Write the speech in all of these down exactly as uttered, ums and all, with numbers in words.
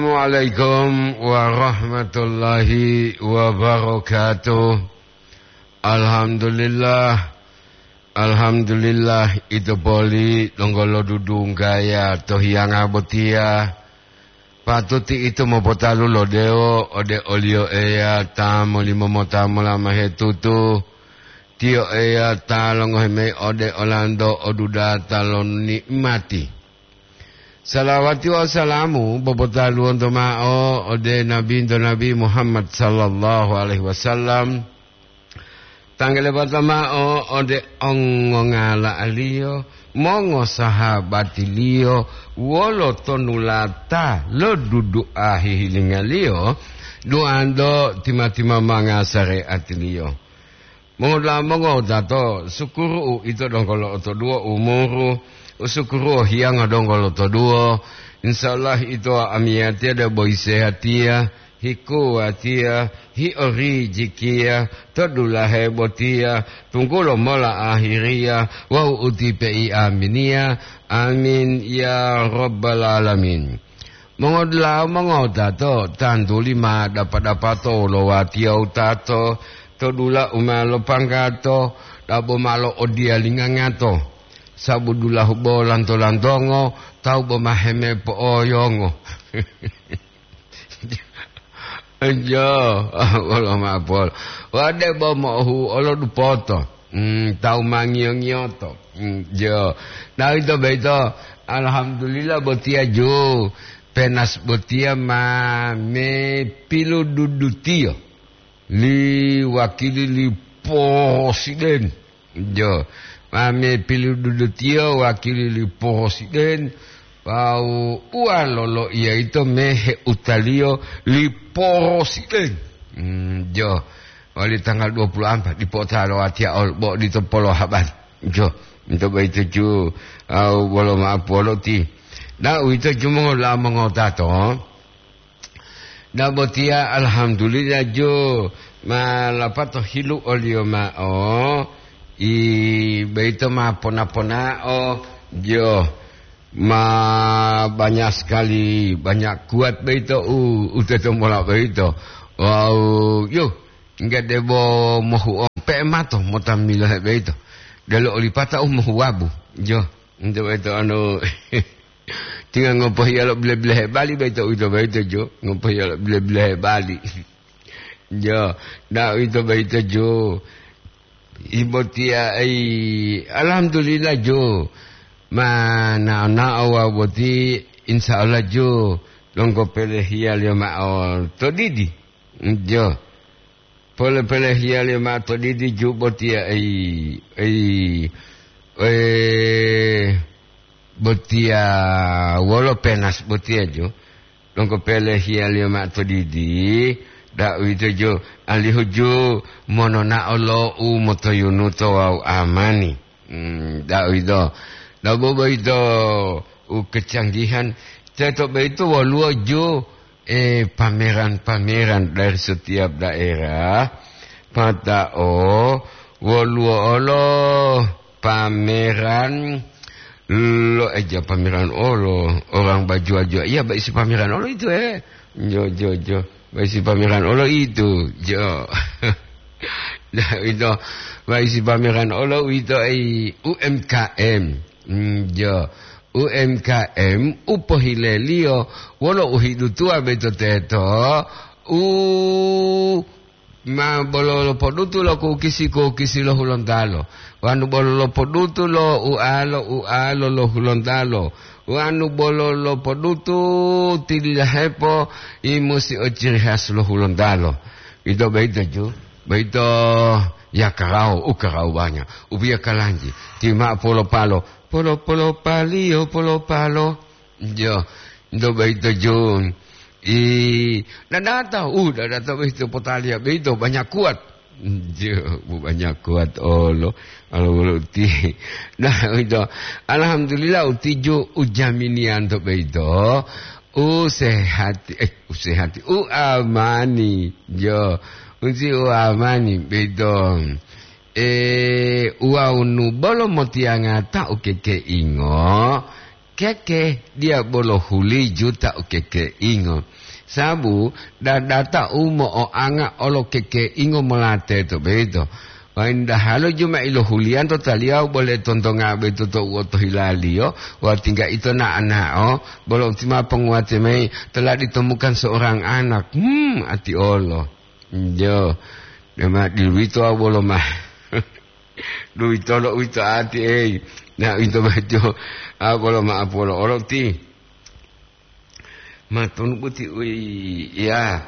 Assalamualaikum warahmatullahi wabarakatuh. Alhamdulillah. Alhamdulillah, ito poli donggo lodudunggaya to hiyanga botiya. Patuti ito mopotalu lo dewo ode oliyo Eya ta molimo mota mola mahetutu. Tiyo Eya ta longohi mayi ode olanto odudata lo ni'mati. Salawati wawu salamu popotaluwonto mao ode Nabinto Nabi Muhammad sallallahu alaihi wasallam. Tanggalebata mao ode ongongala'aliyo, mongosahabatiliyo, wolo tonulata lo dudu'a hihilingaliyo, duwanto tima-timamanga sare'atiliyo. Mongoda'a mongowutato, sukuru'u ito donggo lo'otoduwo umuru, usukuru'u hiyanga donggo lotoduwo. Insya Allah ito amiyatiya debo isehatiya, hikuwatiya, hiorijikiya, to dulahe botiya, tunggulo mola ahiriya, wawu utipe'i aminiya. Amin ya rabbal alamin. Mongodula'a mongowutato, tantuli ma dapa-dapato wolo watiya wutato, to dula u ma lopanggato, dabo ma lo'odiyalingangato, sabu dulahu bo lanto-lantongo, tawu bo ma hemepo'oyongo. Jo, wolo mapol. Wade bo mohu olo dupoto. Hmm, tawu ma ngiyo-ngiyoto. Hmm, jo. Nah, ito boyito, alhamdulillah botiya jo. Penas botiya ma me pilududutiyo li wakili li posiden. Jo, ma me pilududutiyo wakili li posiden, wawu uwalo loiya ito me heutaliyo li posiden. Hmm, jo, wali tanggal dua puluh ampat dipo ta lo watiya ol-, bo dito polo habari. Jo, ito boyito ju, au bolo ma'apu wolo ti. Na uwito ju mongola'a mongotato. Dabotiya, alhamdulillah, jo, ma lapato hilu oliyo ma'o, i, boyito ma pona-ponao, jo, ma banyak sekali, banyak kuat boyito u, u tetombola boyito. Wawu, yo, nggak debo mohu ompe mato mota milohe boyito. Delo olipata u mohu wabu, jo, nte boyito anu, Tinga ngopohiya lo bile-bilehe bali boyito uwito boyito, jo. Ngopohiya lo bile-bilehe bali. Jo, da uwito boyito, jo. Ibotiya, ai, alhamdulillah, jo. Ma nao-nao wawu boti, insya Allah, jo. Donggo pelehiyaliyo ma'o to didi. Jo. Pole-polehiyaliyo ma'o to didi ju botiya, ei, ei, eh, botiya wolo penas botiya ju. Donggo pelehiyaliyo ma'o to didi, da'uwito ju, alihu ju mononao lo u motoyunuto wawu amani. Hmm, da'uwito. Dabo boyito u kecanggihan, teto boyito woluwo ju, eh, pameran-pameran dari setiap daerah. Pata'o woluwo olo pameran lo, eh, ja pameran olo, orang bajua-jua. Iya, baisi pameran olo itu, eh. Jo, jo, jo. Baisi pameran olo itu, jo. Nah, ito, baisi pameran olo ito ai U M K M. Hmm, jo. U M K M u pohileliyo wolo uhidutuwa boyito teto, u ma bolo lopodutu lo kukisi-kukisi lo Hulontalo, wanu bolo lopodutu lo ualo-ualo lo Hulontalo, wanu bolo lopodutu tililahepo, i musi o ciri khas lo Hulontalo. Ito boyito ju, boyito ya karawo, u karawo banyak, u biya kalanji, ti ma'o polo-palo, polo-polo paliyo polo-palo. Jo, nto boyito ju. I, dadata, uh, dadata boyito potaliya boyito banyak kuat. Jo, bu banyak kuat olo, olo wolo ti. Nah, ito, alhamdulillah, uti ju ujaminiyanto boyito. U sehati, eh, u sehati, u amani. Jo, uti u amani boyito. Eh, wawunu bolo motiyanga ta u kekeingo, Keke, dia bolo huli juta u kekeingo. Sabu dadata u mo'oanga olo kekeingo mola teto boyito. Waindahalo ju ma ilohuliyanto taliyawu bole tontonga boyito to u otohilaliyo, wawu tingga ito na'o-na'o, bolo uti ma ponguwate mayi, telah ditemukan seorang anak. Hmm, ati olo. Jo, dema diluwito bolo ma. Duwitolo uwito ati, ei. Na uwito boyito, a, bolo ma'apu olo-olo ti. Matonu boti, ui, ya.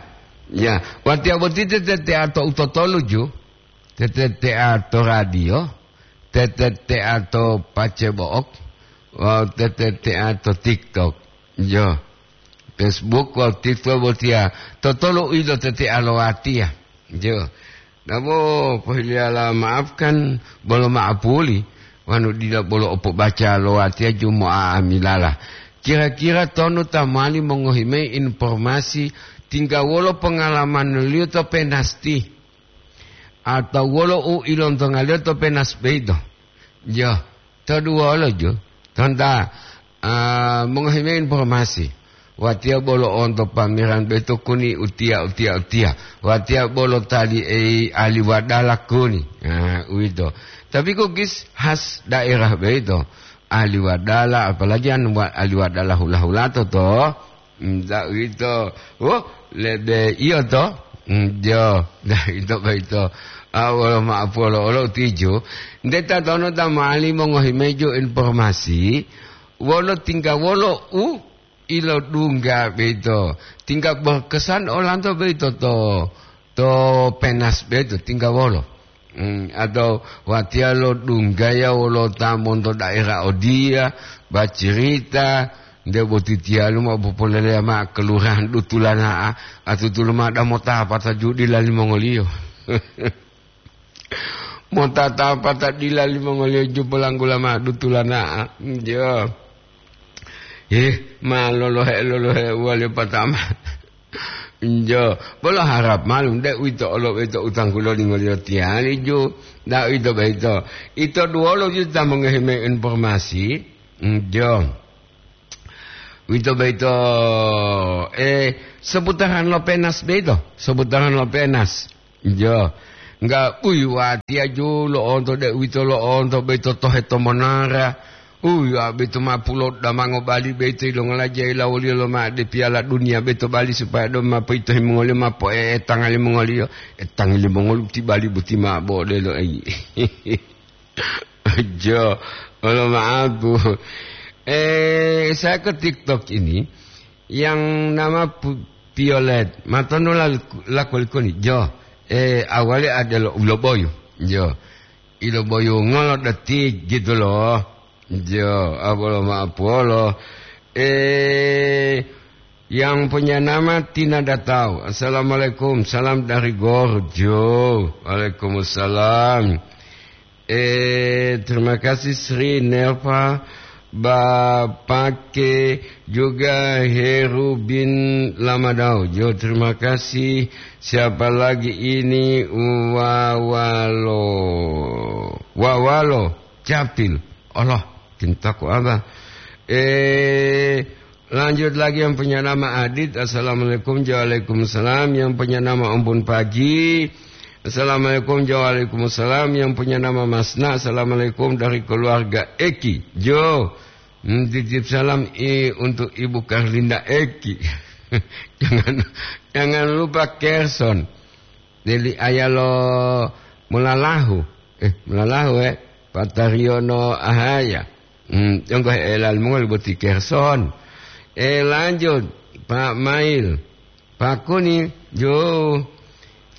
Ya, watiya boti tetetea to utotolu ju. Tetetea to radio, tetetea to pacebo'ok, wawu tetetea to TikTok. Jo. Facebook wawu TikTok botiya, totolu uwito tete'a lo watiya. Jo. Nabo pohiliyala maafkan bolo ma'apuli, wanu dila bolo opobaca lo watiya ju mo'a'amilala. Kira-kira tonu ta mowali mongohi mayi informasi tingga wolo pongalamaniyo to penasti? Atau wolo u ilontongaliyo to penas boyito? Jo, to duwolo ju, tonta, ah, mongohi mayi informasi. Watiya bolo onto pameran boyito kuni utiya, utiya, utiya. Watiya bolo tali ei ahli wadala kuni. Ah, uwito. Tapi kukis khas daerah boyito. Ahli wadala, apalagi an wa-, ahli wadala hula-hulato to. Nta uwito, oh, lebe iyo to? Mm, jo, nta ito boyito. A, wolo ma'apu olo-olo tiju. Nte tatono ta mowali mongohi mayi ju informasi, wolo tingga wolo u ilodungga boyito. Tingga berkesan olanto boyito to, to penas boyito, tingga wolo. Hmm, atau watiya lodunggaya wolo ta monto daerah odiya, bacirita, nde boti tiyalu ma popoleleya ma'o kelurahan dutulana'a, atutulu ma'o da motapata ju dila limongoliyo. Motatapata dila limongoliyo ju polanggula ma'o dutulana'a. Jo. Eh, ma lolohe-lolohe uwaliyo patama. Njo, bolo harap malum, de uwito olo uwito utangku lolingoliyo tiyali ju, da uwito boyito. Ito duwolo ju ta mongohi mayi informasi, njo. Uwito boyito, eh, seputaran lo penas boyito, seputaran lo penas. Njo, ngga uyi watiya ju lo'onto de uwito lo'onto boyito tohe to monara. Uyi, a, boyito ma pulo damango bali boyito yilongola jayila woliyo loma'o de piyala duniya boyito bali supaya donggo ma poyitohi mongoliyo ma po'e'etanga limongoliyo. Etangi limongoliyo ti bali boti ma bo odelo, eyi. Jo, olo ma'apu. Eh, saya ke TikTok ini, yang nama Pu-, Violet, matonu lal-, lakulikuni, jo, eh, awali adelo uloboyu, jo, iloboyu ngolo detik gitu loh, jo, abolo ma'apuolo, eh, yang punya nama Tina Datau. Assalamualaikum, salam dari Gorjo. Waalaikumsalam. Eh, terima kasih Sri Nelva, Bapake, juga Heru bin Lamadau. Jo, terima kasih. Siapa lagi ini? Wawalo. Wawalo Capil. Allah, cintaku apa? Eh, Lanjut lagi yang punya nama Adit. Assalamualaikum, waalaikumsalam. Yang punya nama Ompun Pagi. Assalamualaikum, waalaikumsalam. Yang punya nama Masna. Assalamualaikum dari keluarga Eki. Jo, hmm, titip salam i, untuk Ibu Karlinda Eki. Jangan, jangan lupa Kerson. Deli ayalo mulalahu. Eh, mulalahu, eh. Patariono ahaya. Hmm, yonggo he'ela limongoli boti Kerson. Eh, lanjut, Pak Mail. Pak Kuni, jo.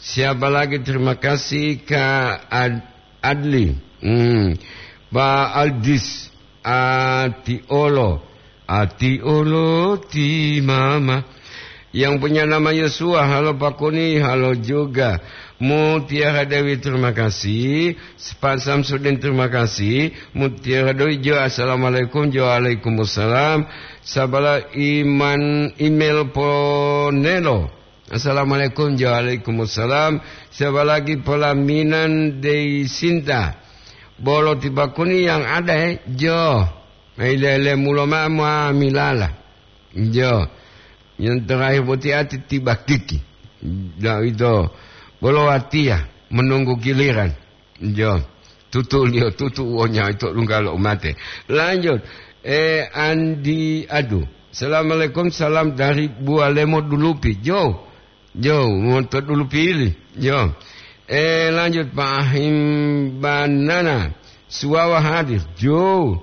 Siapa lagi? Terima kasih, Kak Ad-, Adli. Hmm. Pak Aldis, Atiolo. Atiolo ti mama. Yang punya nama Yosua, halo Pak Kuni, halo juga. Mutiara Dewi, terima kasih. Pak Samsudin, terima kasih. Mutiara Dewi, jo, assalamualaikum, jo, waalaikumsalam. Sabala Iman Email Ponelo. Assalamualaikum, jo, waalaikumsalam. Siapa lagi? Pelaminan Dei Sinta. Bolo ti Pak Kuni yang ada, eh? Jo. Mailele mulo ma'o muamilala. Jo. Yang terakhir boti ati tiba kiki. Dah itu. Bolo watiya menunggu giliran. Jo. Tutu liyo, tutu wonya itu lunggalo umate. Lanjut. Eh, Andi Adu. Assalamualaikum, salam dari Bualemo Dulupi. Jo. Jo, monto Dulupi ili. Jo. Eh, lanjut Pak Ahim Banana. Suwawa hadir. Jo.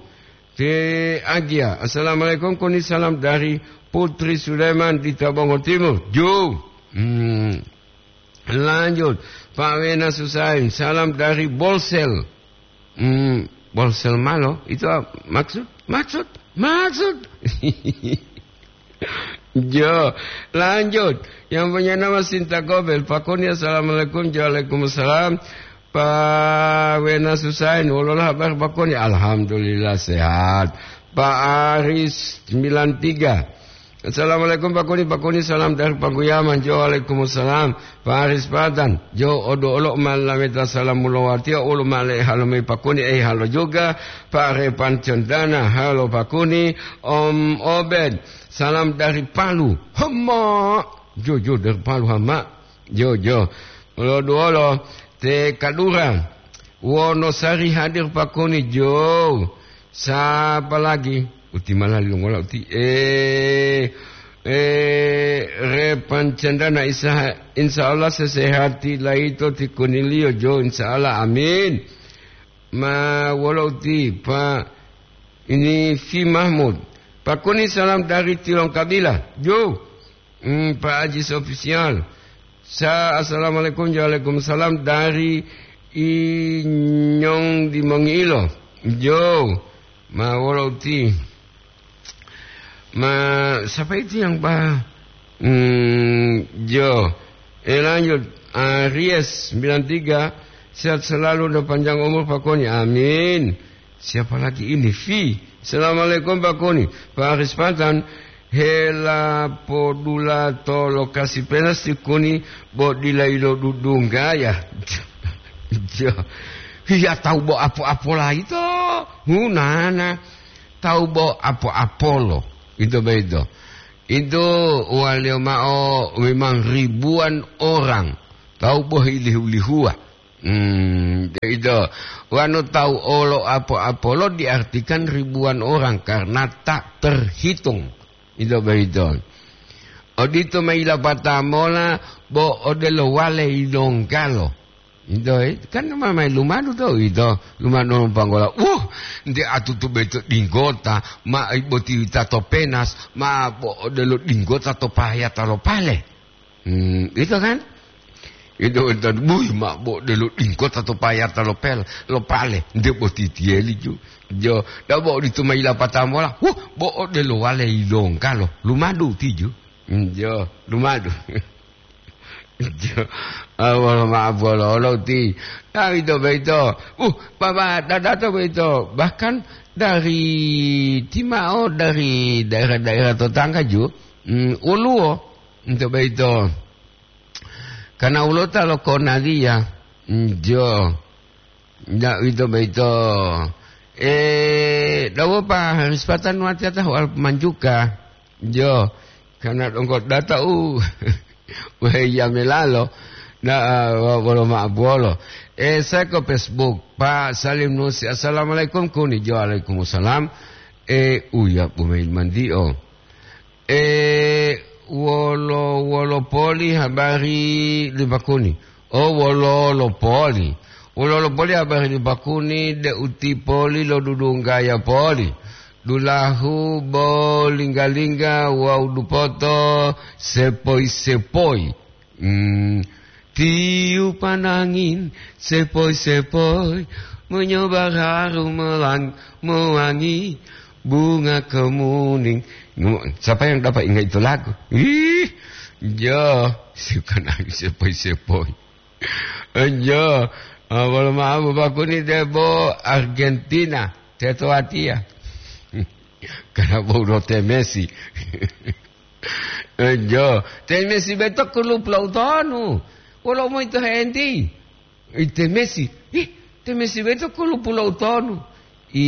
Te Agia. Assalamualaikum, koni salam dari Putri Sulaiman di Tabongo Timur. Jo. Hmm. Lanjut, Pak Wena Susain, salam dari Bolsel. Hmm, Bolsel malo, itu apa maksud? Maksud? Maksud? Jo, lanjut. Yang punya nama Sinta Gobel, Pak Koni, assalamualaikum, waalaikumsalam. Pak Wena Susain, wololah habar Pak Koni? Alhamdulillah sehat. Pak Aris sembilan tiga. Assalamualaikum Pak Koni, Pak Koni salam dari Paguyaman. Jo, waalaikumsalam. Pak Aris Patan, jo odo olo malameta salam mulowatiya ulu male halo mai Pak Koni, eh halo juga. Pak Repan Cendana, halo Pak Koni. Om Obed, salam dari Palu. Hema. Jo, jo dari Palu hama. Jo, jo. Olo duolo, te Kadura. Wonosari hadir Pak Koni, jo. Sapa lagi? Uti malali longola uti. Eh, eh, Repan Cendana isa, insya Allah sesehati laito ti Konilio jo, insya Allah, amin. Ma wolo uti, Pak, ini Fi Mahmud. Pak Koni salam dari Tilongkabila. Jo. Hmm, Pak Ajis Official. Sa, assalamualaikum, waalaikumsalam dari Inyong di Mongiilo. Jo, ma wolo uti. Ma, siapa itu yang Pak? Hmm, jo. Eh, lanjut. Aries sembilan tiga, sehat selalu dan panjang umur Pak Koni. Amin. Siapa lagi ini? Vi. Assalamualaikum Pak Koni. Pak Aris Patan, hela podula to lokasi penas ti Koni bo dila ilodudungga ya. Jo. Iya tahu bo apo-apo laito. Hunana. Tahu bo apo-apolo. Itu begitu. Itu waliyo ma'o memang ribuan orang. Tahu bo ilihu-lihuwa. Hmm, itu. Wanu tahu olo apo-apolo diartikan ribuan orang karena tak terhitung. Itu begitu. Odito ma ilapata mola bo odelo wale ilonggalo. Itu, eh, kan ma mai lumadu to itu, lumadu panggola. Wuh, nte atutu beto dinggota, ma boti tato penas, ma bo odelo dinggota to payata lo pale. Hmm, itu kan? Itu enten, buy, ma bo delo dingkota to payata lo pel, lo pale, nde bo titiyeli ju. Jo, da bo ditu ma ilapata mola, huh, bo delo wale ilongga lo, lumadu tiju. Hmm, jo, lumadu. Jo, awal ma bolo lo ti. Nah, itu begitu. Uh, baba dadato begitu. Bahkan dari timao, dari daerah-daerah tetangga ju, hmm, uluo. Nto boyito, kana ulota lo konaliya, njo, nda uwito boyito, e, dawopa haris patan watiya tahuwal manjuka, njo, kana donggo data u, weheyame lalo, na, wa-, wolo ma'abuwolo. E, seko Facebook, Pak Salim Nusi, "Assalamualaikum," kuni, "Jo, waalaikumsalam." E, uya, bumayi mandio. E, wolo, wolo poli habari li Pakuni? O, wolo, wolo poli. Wolo, wolo poli habari li Pakuni, de uti poli lo dudunggaya poli. Dulahu bo lingga-lingga wawu dupoto sepoi-sepoi. Hmm. Tiupan angin sepoi-sepoi, menyebar harum melang-, mewangi, bunga kemuning. Siapa yang dapat ingat itu lagu? Ih, jo, tiupan angin sepoi-sepoi. Eh, jo, ah, wolo ma'o Bapak Kuni debo Argentina, teto watiya. Karena bo ulo te Messi. Eh, jo, te Messi beto kulupu lo utonu. Wolo umoyito henti? Ih, te Messi. Ih, te Messi beto kulupu lo utonu. I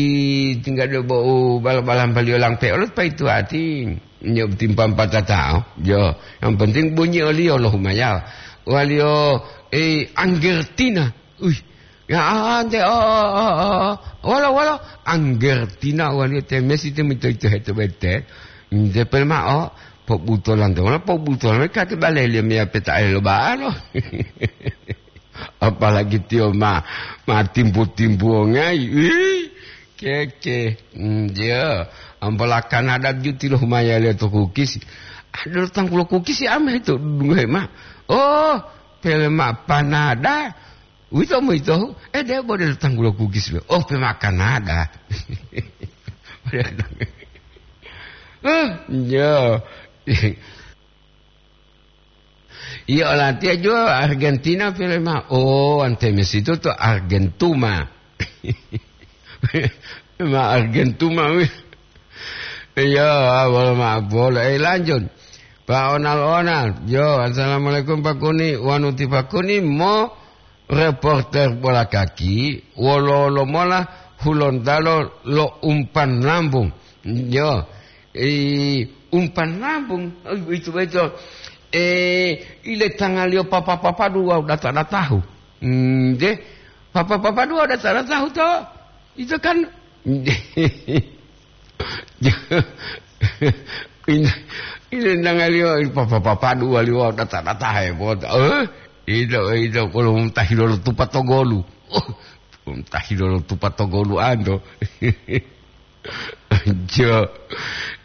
tingga do bo u bala-balampaliyo langpe olo paitu ati, nyo timpang patatao. Yo, yang penting bunyi oliyo lo humaya. Waliyo, eh, Anggertina. Uih, ya ante, oh, oh, oh, oh, oh. Wala, wala, Anggertina waliyo te Messi te mito ito heto bete. Nde pel ma'o, pobutolan to, wala pobutolan kati baleliyo meya peta elo ba'alo. Apalagi tiyo ma, ma timpu-timpuwongayi. Ih, keke. Mm, ya, ambola Kanada juti lo humayaliyo to kukisi. Ada lo tanggulo kukisi ame to dungohe ma. Oh, pele ma panada. Uwito moyito, eh, debo de lo tanggulo kukisi be. Oh, pe ma Kanada. Eh, ya. Iya, olatiya juwa Argentina pele ma. Oh, ante Messi itu to Argentuma. Ma Argentuma wi. Iya, wala ma bola. Eh, lanjut. Pak Onal-onal. Yo, assalamualaikum Pak Kuni. Wanu ti Pak Kuni mo reporter bola kaki, wolo-wolo mola Hulontalo lo umpan lambung. Yo, i umpan lambung, oh, itu betul. Eh, ile tangaliyo papa-papadu wawu data-datahu. Hmm, de, papa-papadu wawu data-datahu to. Itu kan, ini, ini tangaliyo papa-papadu wali wawu data-datahe boto. Eh, itu, itu, kalau mutahi lolo tupa togolu. Oh, mutahi lolo tupa togolu ando. Jo.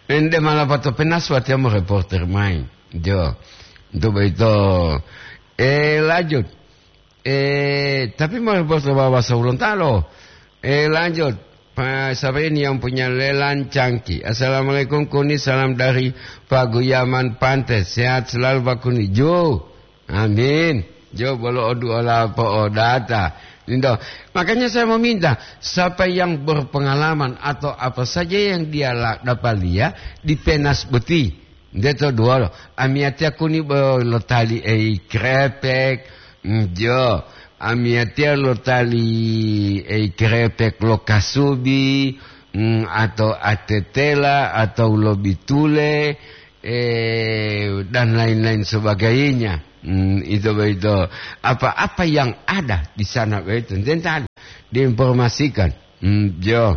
Ende malapato penas watiya mo reporter mayi. Jo. Untuk begitu. Eh, lanjut. Eh, tapi mo reporter bahasa Hulontalo. Eh, lanjut. Pak, siapa ini yang punya lelan cangki? Assalamualaikum Kuni, salam dari Paguyaman Pante. Sehat selalu Pak Kuni. Jo. Amin. Jo bolo oduola po'odata. Lindo. Makanya saya meminta, siapa yang berpengalaman atau apa saja yang dia la-, dapat lihat di Penas boti. Nde to duwolo. Amiyatiya Kuni bo lotali ei krepek. Mm, jo. Amiyatiya lotali ei krepek lo kasubi, mm, atau atetela, atau lobitule, eh, dan lain-lain sebagainya. Hmm, itu begitu. Apa-apa yang ada di sana begitu, tentang diinformasikan. Hmm, jo.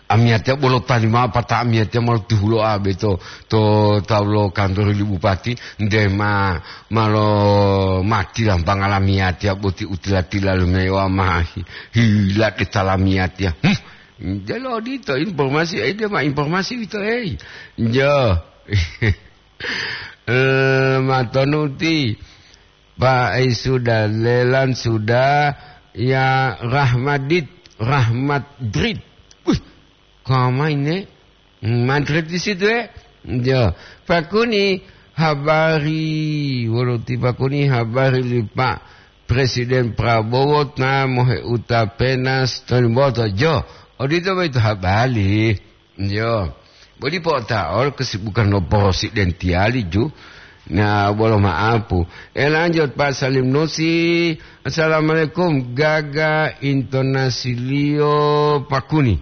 Amiyatiya bolo tali mao pata amiyatiya malo tihulo abe to, to tawu lo kantor li bupati, nde ma, malo mati lampanga lamiyatiya boti utila-tila lumewa ma hi-, hila de talamiyatiya. Hmm. Jalo odito informasi, eh, dia ma informasi wito, eh. Jo. Eh, matonuti. Pak, eh, sudah, lelan sudah, ya Rahmadit, Rahmadrit. Wih, kau main, eh? Madrid di situ, eh? Jo. Pakuni habari, wolo ti pakuni habari li Pak Presiden Prabowo ta moheuta Penas Tonimboto. Jo, odito boyito habari. Jo. Bodi po'ota'o kesibukan lo porosidentiyali ju. Na, bolo ma'apu. Eh, lanjut, Pak Salim Nusi. Assalamualaikum. Gaga intonasiliyo pakuni.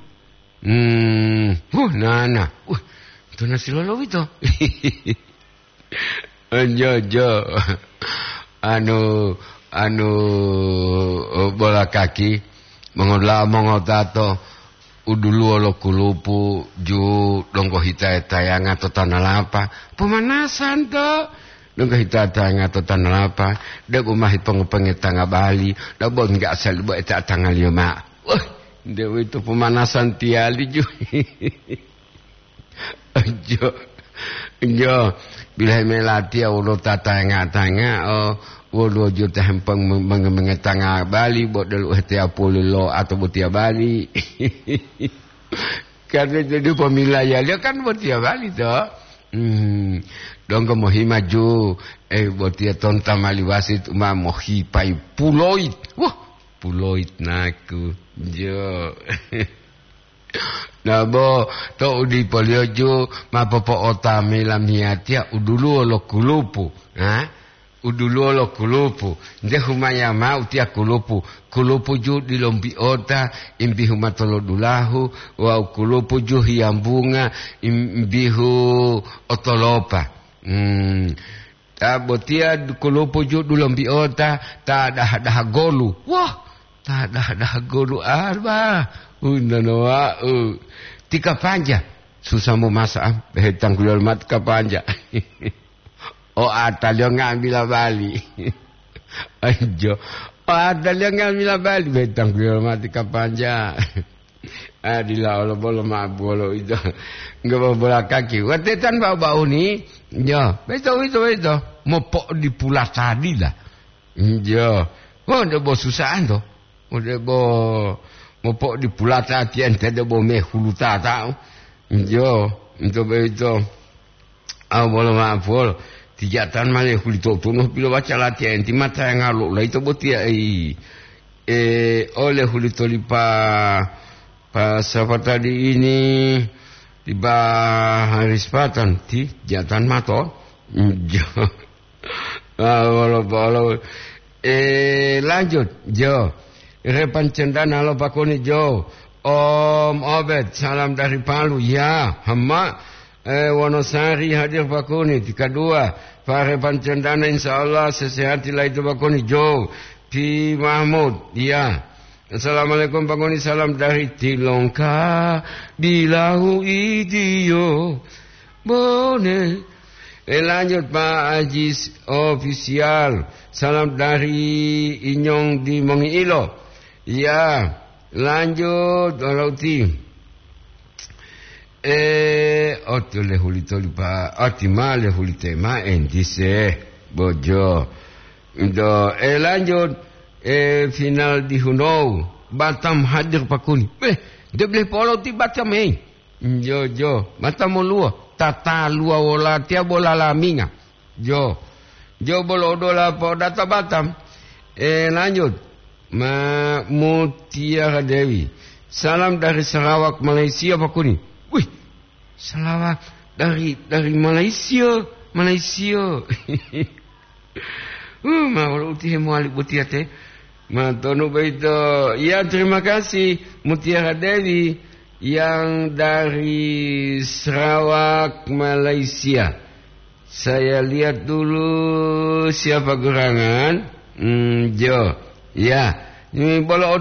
Hmm, huh, nana. Uh, intonasi lolowito. Ojo, ojo. Anu, anu, bola kaki, mongola-, mongotato, uduluwo lo kulupu, ju donggo hita tayanga to tanalapa. Pemanasan to. Donggo hita tayanga to tanalapa, debo mahi pongo-pongetanga bali, debo enggak sel-, bo eta tangaliyo ma. Wah, dewe itu pemanasan tiyali ju. Ojo, ojo. Bilahi melatiya wolo tatanga-tanga, oh, wolo jo tahempeng menge-, mengetanga bali, bo delu hetiya pulilo atau botiya bali. Karena jadi pemilayaliyo kan botiya bali to. Hmm. Donggo mohimaju, eh, botiya tonta mali wasit uma mohipai puloit. Wah, puloit naku. Jo. Nabo, to udipoliyo ju ma popo'otami lamiyatiya uduluwo lo kulupu, ha? u duluwo lo kulupu, nte humaya ma'o tiya kulupu, kulupu ju dilombi'ota, imbihu matolodulahu, wawu kulupu ju hiyambunga, imbihu otolopa. Hmm, ta botiya kulupu ju dulombi'ota, ta daha-daha golu. Wah, ta daha-daha golu arba, unono wa'u. Tika panja, susah momasa, am, he tangguliyo mati ka panja. O ataliyo nga'amila bali. Anjo. O ataliyo nga'amila bali, betang kuliyo mati ka panja. Adila olo bolo mabu olo ito. Nggak bola kaki. Watetan bau-bau ni. Jo, beto, beto, beto. Mopo di pula tadi lah. Jo. Oh, ndak bo susah anto. Ode bo mopo di pulata tiente de bo mehulu tata. Njo, nto boyito. Aw bolo ma'apol, tijatan male huli to'otuno pilowaca latiya enti matayanga lo laito botiya, ei. E, ole huli tolipa pa sapa tadi ini, tiba Haris Patan, ti jatan mato. Njo. Ah, wolo, wolo. Eh, lanjut, jo. Repan Cendana lo pakuni, jo. Om Obed, salam dari Palu. Ya, Hama. Eh, Wonosari hadir pakuni. Tika dua. Pak Repan Cendana, insya Allah sesehati lah itu pakuni, jo. Pi Mahmud, ya. Assalamualaikum, pakuni, salam dari Tilongka, bilahu idiyo. Bone. Eh, lanjut, Pak Ajis Official. Salam dari Inyong di Mongiilo. Ya, lanjut, Olauti. Eh, otu le hulito lipa, oti ma le hulite ma entise, bojo. Do, eh, lanjut, eh, final di Hunou, Batam hadir pakuni. Eh, de boleh polo ti Batam, eh. Jo, jo, Batam moluwo, tata luwa wolatiya bola laminga. Jo, jo bolo odola podata Batam. Eh, lanjut. Ma Mutiara Dewi. Salam dari Sarawak, Malaysia, pakuni. Wih, Sarawak dari, dari Malaysia, Malaysia. Uh, ma wolo utihe mowali botiya te. Ma tonu boyito. Ya, terima kasih, Mutiara Dewi yang dari Sarawak, Malaysia. Saya lihat dulu siapa gerangan. Hmm, jo. Ya, ini bolo